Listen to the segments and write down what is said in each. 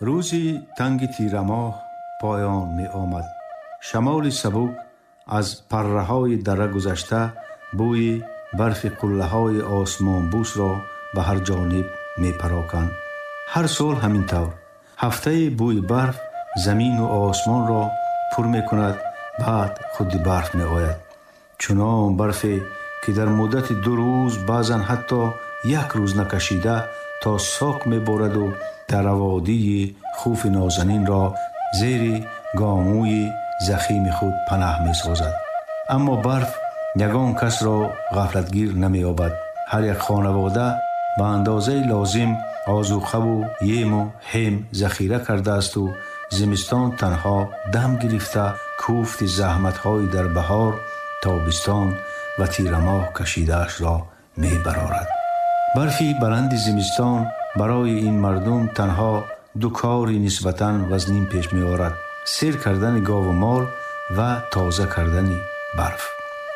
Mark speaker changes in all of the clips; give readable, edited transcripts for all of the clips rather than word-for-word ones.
Speaker 1: Рӯзи танги тирамоҳ поён меомад. Шамоли сабук аз парраҳои дара гузашта, бӯи барфи қуллаҳои осмонбӯсро ба ҳар ҷониб мепароканд. Ҳар сол ҳамин тавр. Ҳафтае бӯи барф замину осмонро пур мекунад, баъд худи барф меояд. Чунон барфе, ки дар муддати 2 рӯз, баъзан ҳатто як рӯз накашида, то соқ мебораду дараводии Хуфи нозанинро зери гомӯи захими худ панаҳ месозад. Аммо барф ягон касро ғафлатгир намеёбад. Ҳар як хонавода ба андозаи лозим озуқаву ему ҳем захира кардаасту зимистон танҳо дам гирифта, кӯфти заҳматҳои дар баҳор, тобистон ва тирамоҳ кашидаашро мебарорад. Барфи баланди зимистон барои ин мардум танҳо ду кори нисбатан вазнин пеш меорад: сер кардани гову мол ва тоза кардани барф.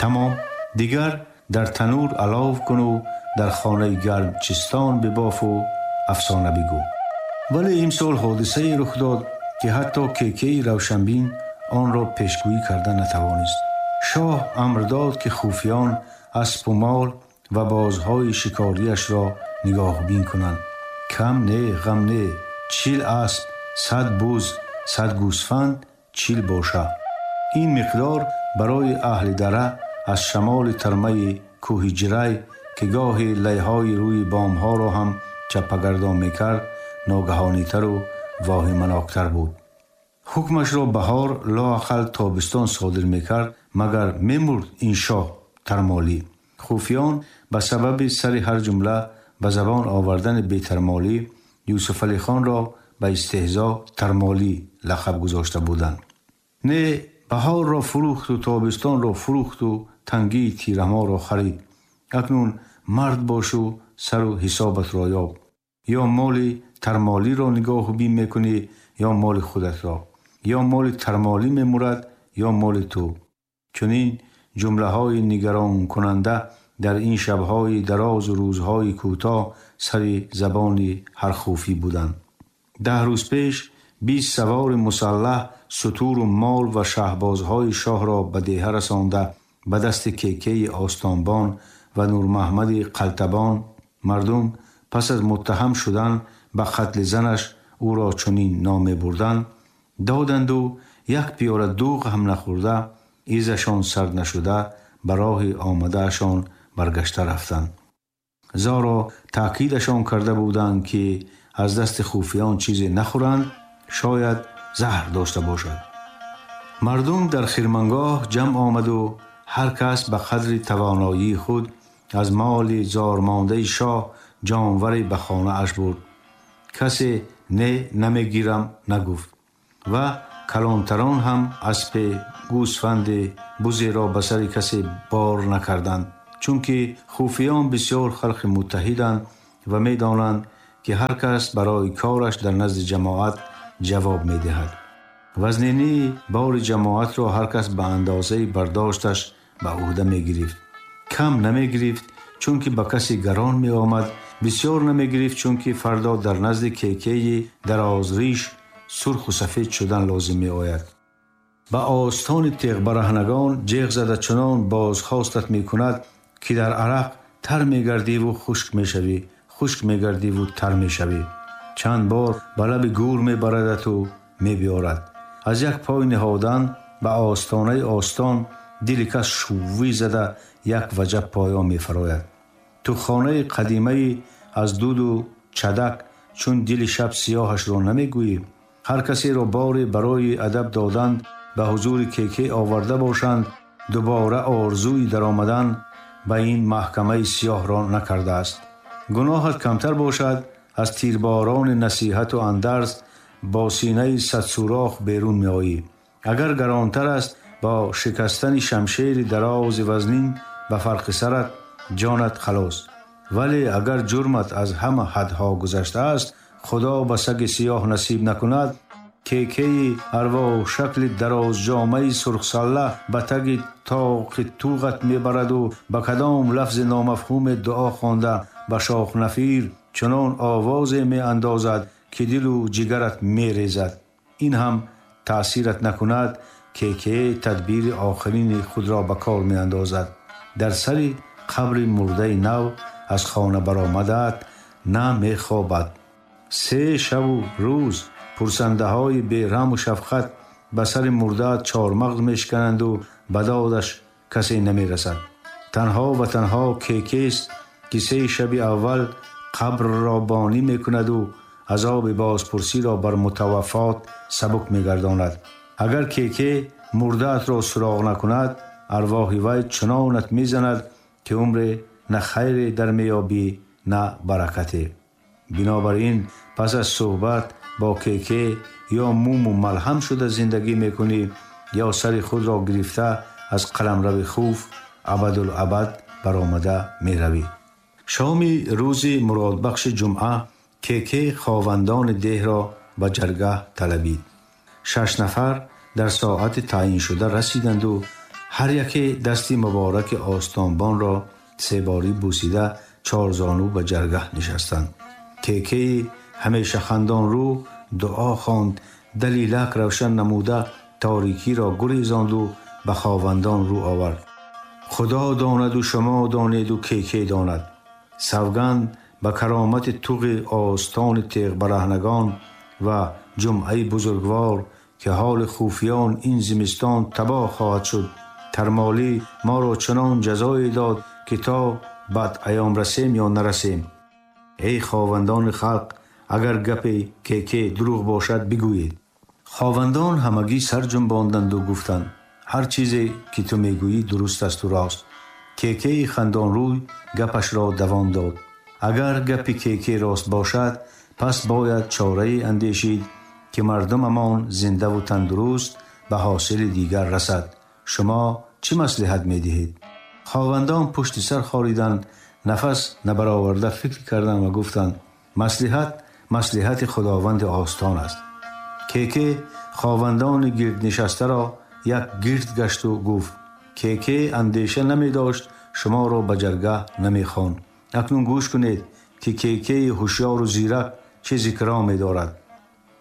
Speaker 1: Тамом, дигар дар танур алов куну дар хонаи гарм чистон бибофу афсона бигӯ. Вале имсол ҳодисае рух дод, ки ҳатто Кекеи равшанбин онро пешгӯӣ карда натавонист. Шоҳ амр дод, ки хуфиён аспу мол ва бозҳои шикориашро нигоҳбин кунанд. Кам не, ғам не, 40 асп, 100 буз, 100 гӯсфанд, 40 боша. Ин миқдор барои аҳли дара аз шамоли тармаи кӯҳи Ҷирай, ки гоҳе лайҳои рӯи бомҳоро ҳам чаппагардон мекард, ногаҳонитару воҳиманоктар буд. Ҳукмашро баҳор, лоақал тобистон содир мекард, магар мемурд ин шоҳ тармолӣ. Хуфиён ба сабаби сари ҳар ҷумла ба забон овардани бетармолӣ Юсуфалихонро ба истеҳзо тармолӣ лақаб гузошта буданд. Не, баҳорро фурӯхту тобистонро фурӯхту тангии тирамоҳро харид. Акнун мард бошу сару ҳисобатро ёб. Ё моли тармолиро нигоҳубин мекунӣ, ё моли худатро. Ё моли тармолӣ мемурад, ё моли ту. Чунин ҷумлаҳои нигаронкунанда дар ин шабҳои дарозу рӯзҳои кӯтоҳ сари забони ҳар хуфӣ буданд. 10 рӯз пеш 20 савори мусаллаҳ сутуру мол ва шаҳбозҳои шоҳро ба деҳа расонда, ба дасти Кекеи остонбон ва Нурмаҳмади Қалтабон мардум пас аз муттаҳам шудан ба қатли занаш ӯро чунин ном мебурданд, доданду як пиёла дӯғ ҳам нахӯрда, изашон сард нашуда, ба роҳи омадаашон баргашта рафтанд. Зоро таъкидашон карда буданд, ки аз дасти хуфиён чизе нахӯранд, шояд заҳр дошта бошад. Мардум дар хирмангоҳ ҷамъ омаду ҳар кас ба қадри тавоноии худ аз моли зормондаи шоҳ ҷонваре ба хонааш бурд. Касе не намегирам нагуфт ва калонтарон ҳам аспе, гӯсфанде, бузеро ба сари касе бор накарданд, чунки хуфиён бисёр халқи муттаҳиданд ва медонанд, ки ҳар кас барои кораш дар назди ҷамоат ҷавоб медиҳад. Вазнинии бори ҷамоатро ҳар кас ба андозаи бардошташ ба ӯҳда мегирифт. Кам намегирифт, чунки ба касе гарон меомад, бисёр намегирифт, чунки фардо дар назди Кекеи дарозриш сурху сафед шудан лозим меояд. Ба остони теғбараҳнагон ҷеғ зада чунон бозхостат мекунад, ки дар арақ тар мегардиву хушк мешавӣ, хушк мегардиву тар мешавӣ. Чанд бор ба лаби гӯр мебарадату мебиёрад. Аз як пой ниҳодан ба остонаи остон дили кас шуввӣ зада як ваҷаб поён мефарояд. Туххонаи қадимаи аз дуду чадак чун дили шаб сиёҳашро намегӯӣ. Ҳар касеро боре барои адаб додан ба ҳузури Кеке оварда бошанд, дубора орзуи даромадан ба ин маҳкамаи сиёҳро накардааст. Гуноҳат камтар бошад, аз тирборони насиҳату андарз бо синаи садсурох берун меоӣ. Агар гаронтар аст, бо шикастани шамшери дарози вазнин ба фарқи сарат ҷонат халос. Вале агар ҷурмат аз ҳама ҳадҳо гузаштааст, Худо ба саги сиёҳ насиб накунад, Кекеи арвоҳ шакли дарозҷомаи сурхсалла ба таги тоқи туғат мебараду ба кадом лафзи номафҳуме дуо хонда ба шохнафир чунон овозе меандозад, ки дилу ҷигарат мерезад. Ин ҳам таъсират накунад, Кеке тадбири охирини худро ба кор меандозад. Дар сари қабри мурдаи нав аз хона баромадаат на мехобад. 3 шабу рӯз пурсандаҳои бераҳму шафқат ба сари мурдаат чормағз мешикананду ба додаш касе намерасад. Танҳо ва танҳо Кекест, ки 3 шаби аввал қабрро бонӣ мекунаду азоби бозпурсиро бар мутаваффот сабук мегардонад. Агар Кеке мурдаатро суроғ накунад, арвоҳи вай чунонат мезанад, ки умре на хайре дар меёбӣ, на баракате. Бинобар ин пас аз суҳбат бо Кеке ё муму малҳам шуда зиндагӣ мекунӣ, ё сари худро гирифта аз қаламрави хуф абадулабад баромада меравӣ. Шоми рӯзи муродбахши ҷумъа Кеке ховандони деҳро ба ҷаргаҳ талабид. 6 нафар дар соати таъйиншуда расиданду ҳар яке дасти мубораки остонбонро себорӣ бусида чорзону ба ҷаргаҳ нишастанд. Кекеи ҳамешахандонрӯ дуо хонд, далилак равшан намуда торикиро гурезонду ба ховандон рӯ овард. Худо донаду шумо донеду Кеке донад. Савганд ба каромати туғи остони теғбараҳнагон ва ҷумъаи бузургвор, ки ҳоли хуфиён ин зимистон табоҳ хоҳад шуд. Тармолӣ моро чунон ҷазое дод, ки то бад аём расем ё нарасем. Эй ховандони халқ, агар гапи Кеке дурӯғ бошад, бигӯед. Ховандон ҳамагӣ сар ҷунбонданду гуфтанд: ҳар чизе ки ту мегӯӣ дуруст асту рост. Кекеи хандонрӯй гапашро давом дод. Агар гапи Кеке рост бошад, пас бояд чорае андешид, ки мардумамон зиндаву тандуруст ба ҳосили дигар расад. Шумо чӣ маслиҳат медиҳед? Ховандон пушти сар хориданд, нафас набароварда фикр карданд ва гуфтанд: маслиҳат маслиҳати худованди остон аст. Кеке ховандони гирднишастаро як гирд гашту гуфт: Кеке андеша намедошт, шуморо ба ҷаргаҳ намехонд. Акнун гӯш кунед, ки Кекеи ҳушёру зирак чӣ зикро медорад.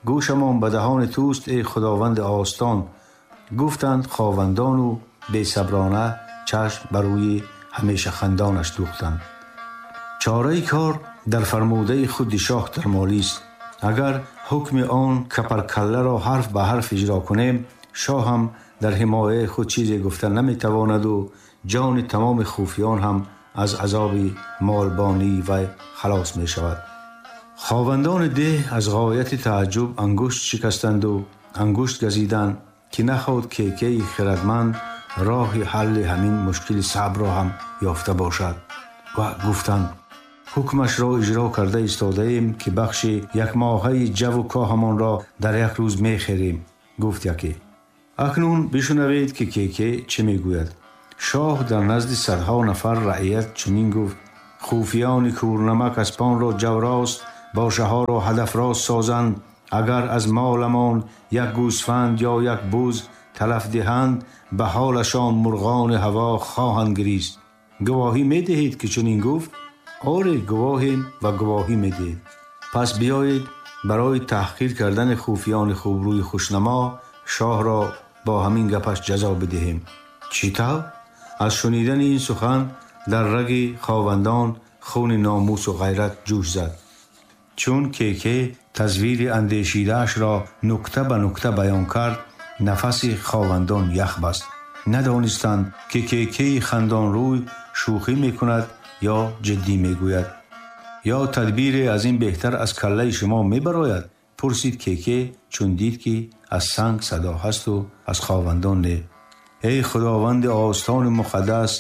Speaker 1: Гӯшамон ба даҳони туст, эй худованди остон, гуфтанд ховандону бесаброна чашм ба рӯи ҳамешахандонаш дӯхтанд. Чораи кор дар фармудаи худи шоҳ Тармолист. Агар ҳукми он капаркалларо ҳарф ба ҳарф иҷро кунем, шоҳ ҳам дар ҳимояи худ чизе гуфта наметавонаду ҷони тамоми хуфиён ҳам аз азоби молбонии вай халос мешавад. Ховандони деҳ аз ғояти тааҷҷуб ангушт шикастанду ангушт газиданд, ки нахоҳад Кекеи хирадманд роҳи ҳалли ҳамин мушкили сабрро ҳам ёфта бошад. Ва гуфтанд: ҳукмашро иҷро карда истодаем, ки бахши якмоҳаи ҷаву коҳамонро дар як рӯз мехерем, гуфт яке. Акнун бишунавед, ки Кеке чӣ мегӯяд. Шоҳ дар назди садҳо нафар раият чунин гуфт: хуфиёни кӯрнамак аспонро ҷаврост, бошаҳоро ҳадафрост созанд. Агар аз моламон як гӯсфанд ё як буз талаф диҳанд, ба ҳолашон мурғони ҳаво хоҳанд гирист. Гувоҳӣ медиҳед, ки чунин гуфт? Оре, гувоҳем ва гувоҳӣ медиҳем. Пас биёед барои таҳқир кардани хуфиёни хубрӯи хушнамо шоҳро бо ҳамин гапаш ҷазо бидиҳем. Чӣ тавр? Аз шунидани ин сухан дар раги ховандон хуни номусу ғайрат ҷӯш зад. Чун Кеке тазвири андешидаашро нукта ба нукта баён кард, нафаси ховандон ях баст. Надонистанд, ки Кекеи хандонрӯй шӯхӣ мекунад ё ҷиддӣ мегӯяд. Ё тадбире аз ин беҳтар аз каллаи шумо мебарояд? Пурсид Кеке, чун дид, ки аз санг садо ҳасту аз ховандон не. Эй худованди остони муқаддас,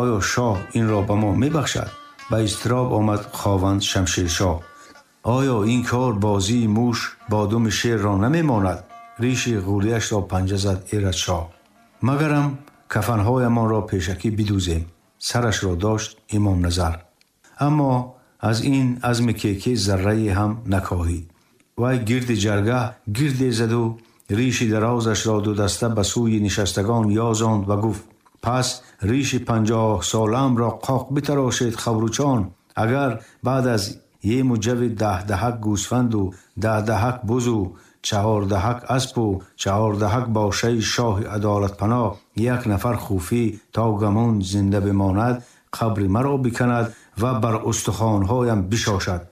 Speaker 1: оё шоҳ инро ба мо мебахшад? Ба изтироб омад хованд Шамшершоҳ. Оё ин кор бозии муш бо думи шерро намемонад? Риши ғӯлиашро панҷа зад Эраҷшоҳ. Магарам кафанҳоямонро пешакӣ бидӯзем? Сарашро дошт Имомназар. Аммо аз ин азми Кеке заррае ҳам накоҳид. Вай гирди ҷаргаҳ гирде заду риши дарозашро дудаста ба сӯи нишастагон ёзонд ва гуфт: пас риши 50 солаамро қоқ битарошед, хабручон. Агар баъд аз ему ҷави 10 даҳак гӯсфанду 10 даҳак бузу 14 даҳак аспу 14 даҳак бошаи шоҳи адолатпаноҳ як нафар хуфӣ то гамон зинда бимонад, қабри маро биканад ва бар устухонҳоям бишошад.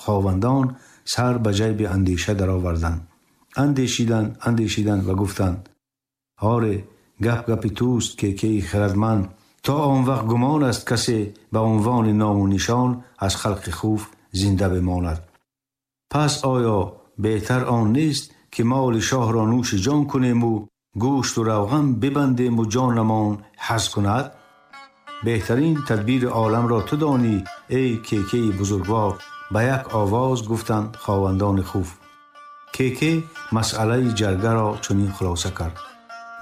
Speaker 1: Ховандон сар ба ҷайби андеша дароварданд. Андешиданд, андешиданд ва гуфтанд: «Оре, гап гапи туст, Кекеи хирадманд. То он вақт гумон аст, касе ба унвони ному нишон аз халқи хуф зинда бимонад. Пас оё беҳтар он нест, ки моли шоҳро нӯши ҷон кунему гӯшту равған бибандему ҷонамон ҳаз кунад? Беҳтарин тадбири оламро ту донӣ, эй Кекеи бузургвор», ба як овоз гуфтанд ховандони хуф. Кеке масъалаи ҷаргаро чунин хулоса кард: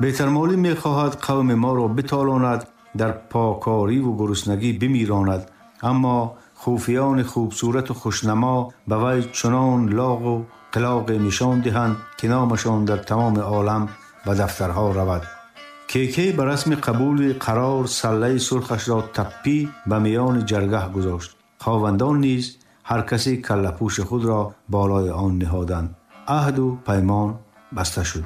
Speaker 1: «Бетармолӣ мехоҳад қавми моро битолонад, дар покориву гуруснагӣ бимиронад, аммо хуфиёни хубсурату хушнамо ба вай чунон лоғу қилоғе нишон диҳанд, ки номашон дар тамоми олам ба дафтарҳо равад». Кеке ба расми қабули қарор саллаи сурхашро таппӣ ба миёни ҷаргаҳ гузошт. Ховандон низ ҳар касе каллапӯши худро болои он ниҳоданд. Аҳду паймон баста шуд.